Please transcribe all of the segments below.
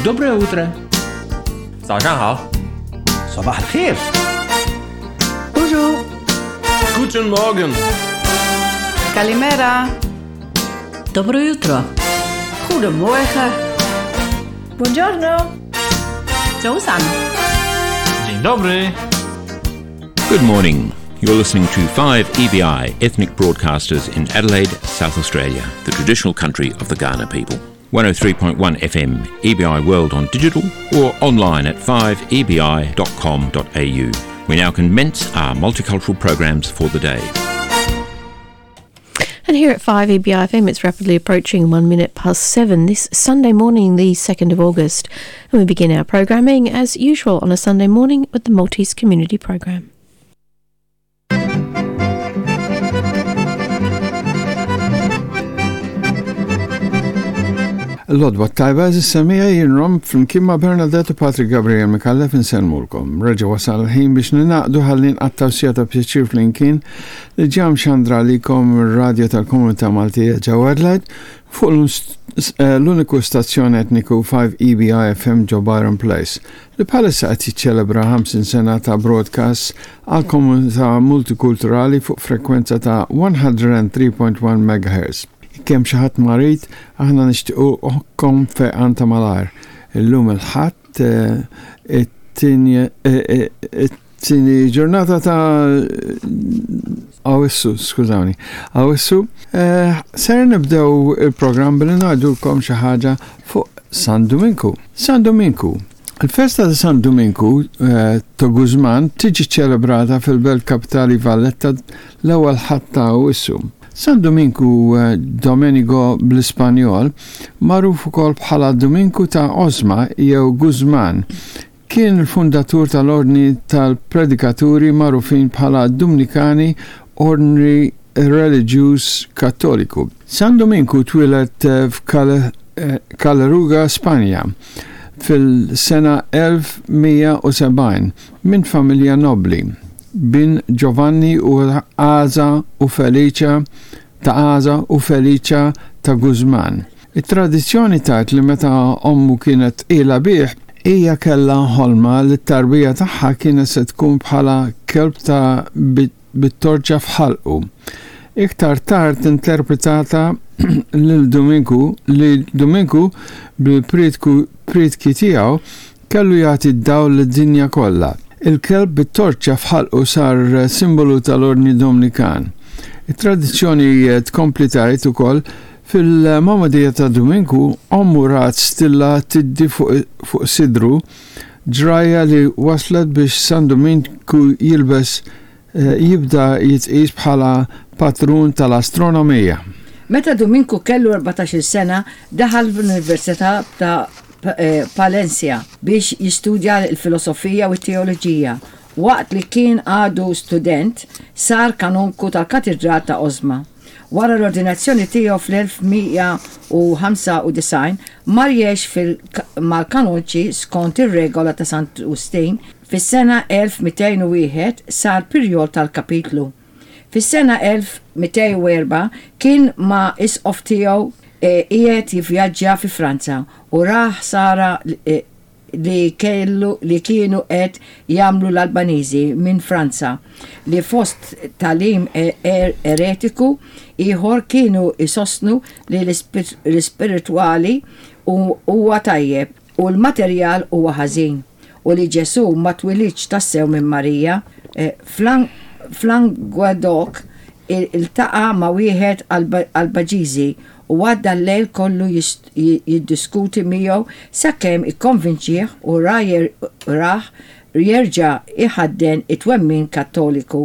Доброе утро. 早上好。 صباح الخير. Bonjour. Guten Morgen. Kalimera. Dobro jutro. Goedemorgen. Buongiorno. 早晨. Dzień dobry. Good morning. You're listening to 5EBI Ethnic Broadcasters in Adelaide, South Australia, the traditional country of the Ghana people. 103.1 FM, EBI World on digital or online at 5ebi.com.au. We now commence our multicultural programs for the day. And here at 5EBI FM, it's rapidly approaching 7:01 this Sunday morning, the 2nd of August. And we begin our programming as usual on a Sunday morning with the Maltese Community Program. L-għodwa t-tajba għeżież semmiegħa jien Rom flimkien ma' Bernadette u Patrick Gabriel Micallef insellmulkom. Reġa' wasal il-ħin biex ningħaqdu ħalli nqattgħu siegħa ta' pjaċir flimkien li ġa mxandra għalikom mir-radju tal-Komunità Maltija ġewwa Adelaide fuq l-uniku stazzjon etniku 5EBI FM ġo Byron Place li bħalissa qed jiċċelebra 50 sena ta' broadcasts għall-komunità multikulturali fuq frekwenza ta' 103.1 MHz. Jekk hemm xi ħadd marid, aħna nixtiequkom fejqan ta' malajr. Illum il-Ħadd, it-tieni ġurnata ta' Awwissu, skużawni, Awwissu, ser nibdew il-programm billi ngħidulkom xi ħaġa fuq San Duminku. San Duminku. Il-festa ta' San Duminku ta' Guzman tiġi ċċelebrata fil-belt kapitali Valletta l-ewwel Ħadd ta' Awwissu. San Duminku, Domenigo bl-Ispanjol, magħruf ukoll bħala Duminku ta' Osma jew Guzman, kien il-fundatur tal-Ordni tal-Predikaturi magħrufin bħala Dumnikani, ordni reliġjuż Kattoliku. San Duminku twieled f'Caleruga, Spanja, fil-sena 1170 minn familja nobbli, bin Giovanni u Aza u Felicia ta' Aza u Felicia ta' Guzman. It-tradizzjoni tgħid li meta ommu kienet tqila bih, hija kellha ħolma li t-tarbija tagħha kienet se tkun bħala kelb ta' bit-torċa f'ħalqu. Iktar tard interpretata lil Duminku li Duminku bil-prietki tiegħu kellu jagħti d-dawl lid-dinja kollha. Il-kelb bit-torċa f'ħalqu sar simbolu tal-Ordni Domnikan. It-tradizzjoni tkompli tgħid ukoll fil-magħmudija ta' Duminku ommu rat stilla tiddi fuq sidru, ġrajja li wasslet biex San Duminku jilbes jibda jitqies bħala patrun tal-astronomija. Meta Duminku kellu 14-il sena daħal fl-Università ta' Palencia biex jistudja l-filosofija u t-teoloġija. Waqt li kien għadu student, sar kanonku tal-Katidral ta' Osma. Wara l-ordinazzjoni tiegħu fl-1195, mar jgħix mal-kanonċi skont ir-regola ta' Sant Wistin. Fis-sena 1201 sar pirjol tal-kapitlu. Fis-sena 1204 kien ma' isqof tiegħu qiegħed jivvjaġġa fi Franza u ra ħsara li kellu li kienu qed jagħmlu l-Albaniżi minn Franza li fost tagħlim eretiku ieħor kienu jsostnu li l-ispiritwali huwa tajjeb u l-materjal huwa ħażin u li Ġesù ma twilidx tassew minn Marija. F'Languedoc iltaqa' ma' wieħed Albaġiżi u għadda l-lejl kollu jiddiskuti miegħu sakemm ikkonvinċieh u rah jerġa' jħadden it-twemmin Kattoliku.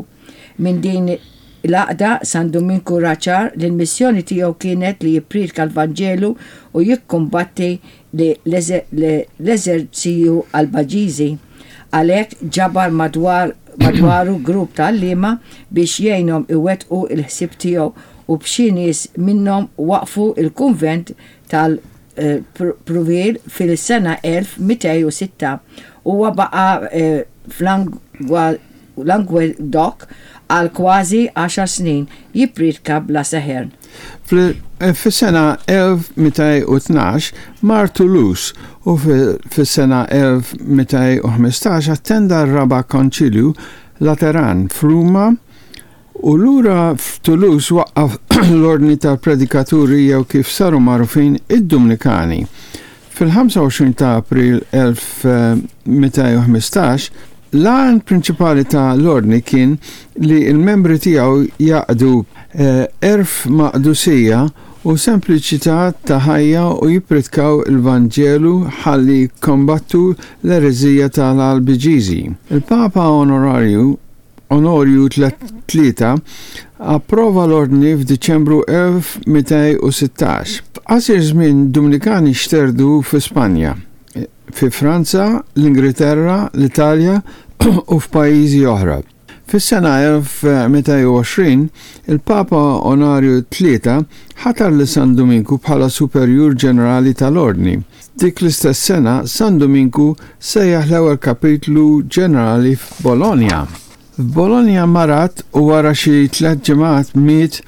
Minn din l-għaqda San Duminku ra ċar li l-missjoni tiegħu kienet li jippriedka l-Vanġelu u jikkumbatti l-eżerċizzju Albaġiżi. Għalhekk ġabar madwar madwaru grupp ta' għalliema biex jgħinhom iwettqu l-ħsieb tiegħu u b'xi nies minnhom waqqfu l-kunvent tal-Prouille fil-sena 1206. Huwa baqa' f'Languedoc għal kważi għaxar snin jippriedka bla seħer. Fis-sena 1212 mar Toulouse u fis-sena 1215 attenda r-Raba' Konċilju Lateran f'Ruma u lura f'Toulouse waqqaf l-Ordni tal-Predikaturi jew kif saru magħrufin id-Dumnikani. Fil-25 ta' April 1215, l-għan prinċipali ta' l-Ordni kien li l-membri tiegħu jgħaqqdu għerf ma' qdusija u sempliċità ta' ħajja u jippritkaw il-Vanġelu ħalli jikkombattu l-ereżija ta' l-Albiġiżi. Il-Papa Onorarju Onorju Tlieta approva l-ordni f'Diċembru 1216. F'qasir żmien Dumnikani xterdu fi Spanja, fi Franza, l-Ingriterra, l-Italja u f'pajjiżi oħra. Fis-sena 1220, il-Papa Onarju Tlieta ħatar lil San Duminku bħala Superjur Ġenerali tal-Ordni. Dik l-istess sena, San Duminku sejjaħ l-ewwel Kapitlu Ġenerali f'Bologna. F'Bologna marad u wara xi tlett ġimgħat miet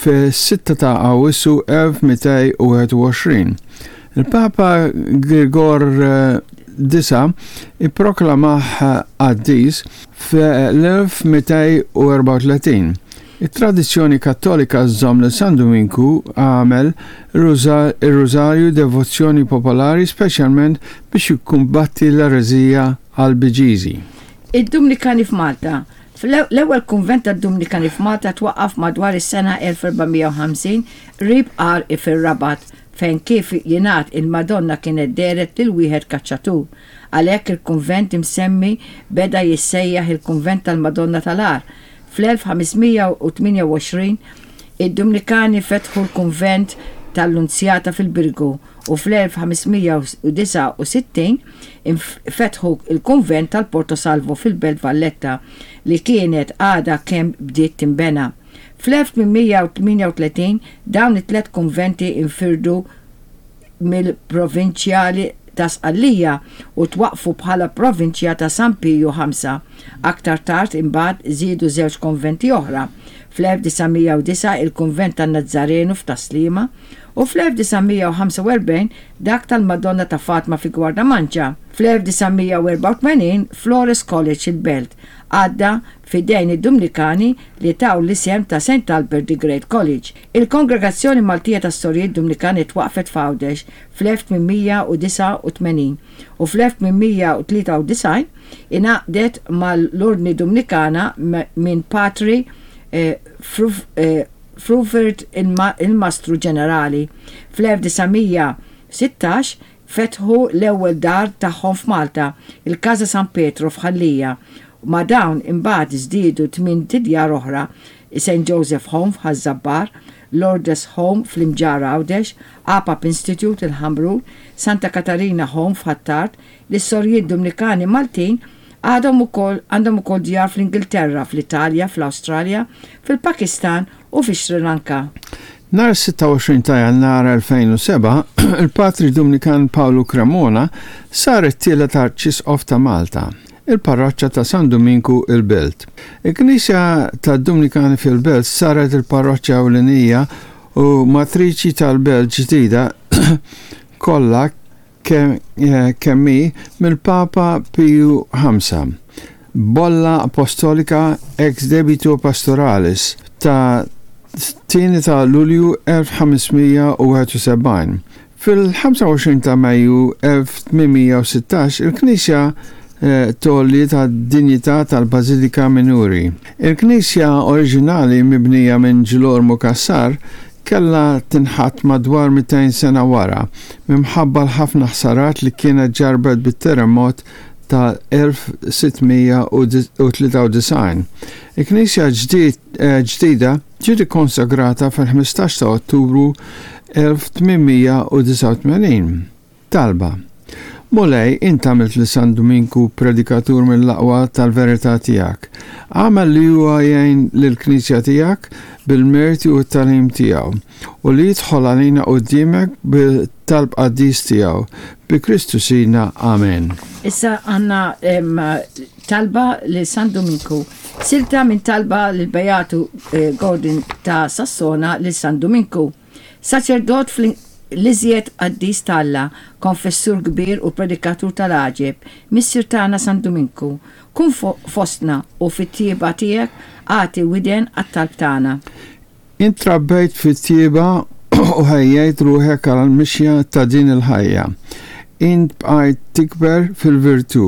fis-sitta ta' Awwissu 1221. Il-Papa Girgor Disa' ipproklamah qaddis fl-1234. It-tradizzjoni Kattolika żżomm lil San Duminku għamel ir-Rużarju devozzjoni popolari speċjalment biex jikkumbatti l-ereżija Albiġiżi. Id-Dumnikani f'Malta L-ewwel kunvent tad-Dumnikani f'Malta twaqqaf madwar is-sena 1450 qrib Għar fir-Rabat fejn kif jingħad il-Madonna kienet dehret lil wieħed kaċċatur. Għalhekk il-kunvent imsemmi beda jissejjaħ il-Kunvent tal-Madonna tal-Għar. Fl-1528 id-Dumnikani fetħu l-Kunvent tal-Lunzjata fil-Birgu u fl-1569 fetħu l-Kunvent tal-Porto Salvo fil-Belt Valletta li kienet għadha kemm bdiet tinbena. Fl-1838 dawn it-tliet kunventi nfirdu mill-Provinċjali ta' Sqallija u twaqqfu bħala Provinċja ta' San Piju Ħamsa. Aktar tard imbagħad żiedu żewġ konventi oħra, fl-1909 il-Kunvent tan-Nazzarenu f'Tas-Sliema u fl-1945 dak tal-Madonna ta' Fatma fi Gwardamanċa. Fl-1984 Flores College il-Belt għadda f'idejn id-Dumnikani li taw l-isem ta' Saint Albert the Great College. Il-Kongregazzjoni Maltija tas-Sorijiet Dumnikani twaqqfet f'Għawdex fl-1889 u fl-1893 ingħaqdet mal-Ordni Dumnikana minn Patri Fruvert il-Mastru Ġenerali. Fl-1916 fetħu l-ewwel dar tagħhom f'Malta, il-Casa San Pietro f'Ħal Lija. Ma' dawn imbagħad żdiedu tmient idjar oħra, Saint Joseph Home f'Ħaż-Żabbar, Lourdes Home fl-Imġarr Għawdex, Apap Institute il-Ħamrun, Santa Katarina Home f'Ħ'Attard, Lis-Sorijiet Dumnikani Maltin għadhom ukoll għandhom ukoll djar fl-Ingilterra, fl-Italja, fl-Awstralja, fil-Pakistan u fi Sri Lanka. Nhar is-26 ta' Jannar 2007, il-Patri Dumnikan Pawlu Cremona sar it-tielet Arċisqof ta' Malta, il-Parroċċa ta' San Duminku il-Belt. Il-Knisja tad-Dumnikani fil-Belt saret il-parroċċa ewlenija u matriċi tal-belt ġdida kollha kemm hi mill-Papa Piju Ħamsa, b'Bolla Apostolika ex debito pastoralis ta' tieni ta' Lulju 1571. Fil-25 ta' Mejju 1816 il-knisja tgħolliet għad-dinjità tal-Bażilika Minuri. Il-knisja oriġinali mibnija minn Ġilormu Cassar kellha tinħatt madwar 200 sena wara minħabba l-ħafna ħsarat li kienet ġarrbet bit-terremot ta' 1693. Il-knisja ġdida ġiet ikkonsagrata fil-15 ta' Ottubru 1889. Talba, Mulej, int għamilt lil San Duminku predikatur mill-aqwa tal-verità tiegħek. Agħmel li huwa jgħin lill-Knisja tiegħek bil-merti u t-tagħlim tiegħu, u li jidħol għalina quddiemek bit-talb qaddis tiegħu. Bi Kristu Sidna. Amen. Issa għandna talba lil San Duminku. Silta minn talba lill-Beatu Gordon ta' Sassona lil San Duminku. Saċerdot fl-iżjed qaddis t'Alla, konfessur kbir u predikatur tal-għaġeb, Missier tagħna San Duminku, kun fostna u fit-tjieba tiegħek agħti widen għat-talb tagħna. Int trabbejt fit-tjieba u ħejjejt ruħek għall-mixja ta' din il-ħajja. Int bqajt tikber fil-virtù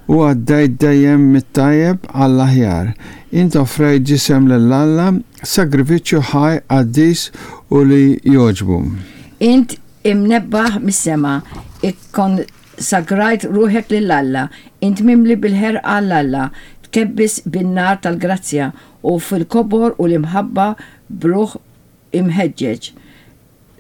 u għaddejt dejjem mit-tajjeb għall-aħjar. Int offrejt ġisem lil Alla, sagrifiċċju ħaj, qaddis u li jogħġbu. Int imnebbaħ mis-sema, ikkonsagrajt ruħek lil Alla, int mimli bil-ħerqa għal Alla, tkebbis bin-nar tal-grazzja u fil-kobor u l-imħabba b'ruħ imħeġġeġ.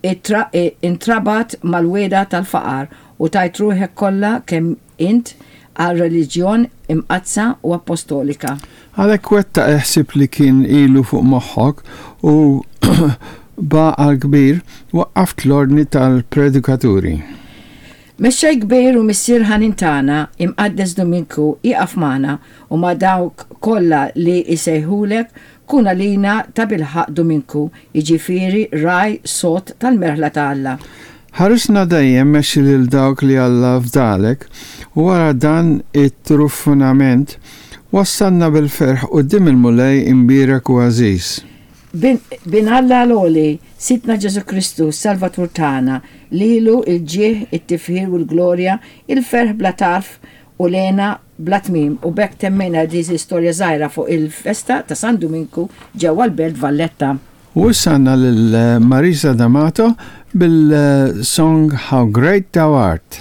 Intrabat mal-wegħda tal-faqar u tajt ruħek kollha kemm int għar-reliġjon imqaddsa u appostolika. Għalhekk wettaq il-ħsieb li kien ilu fuq moħħok u b'għaqal kbir waqqaft l-ordni tal-predikaturi. Mexxej kbir u Missier ħanin tagħna, Imqaddes Duminku, ieqaf magħna u ma' dawk kollha li jsejħulek, kun għalina tabilħaqq Duminku, jiġifieri ragħaj sod tal-merħla ta' Alla. Ħarisna dejjem mexxi lil dawk li Alla fdalek, u wara dan it-truffunament, wassalna bil-ferħ quddiem il-Mulej imbierek u għażiż. Bin, Bin Alla l-Għoli, Sidna Ġesù Kristu, s-Salvatur tagħna, lilu l-ġieħ, it-tifħir u l-glorja, il-ferħ bla tarf u l-hena bla tmiem. U b'hekk temmejna din l-istorja żgħira fuq il-festa ta' San Duminku ġewwa l-Belt Valletta. U issa għandna lil Marisa D'Amato bil-song How Great Thou Art.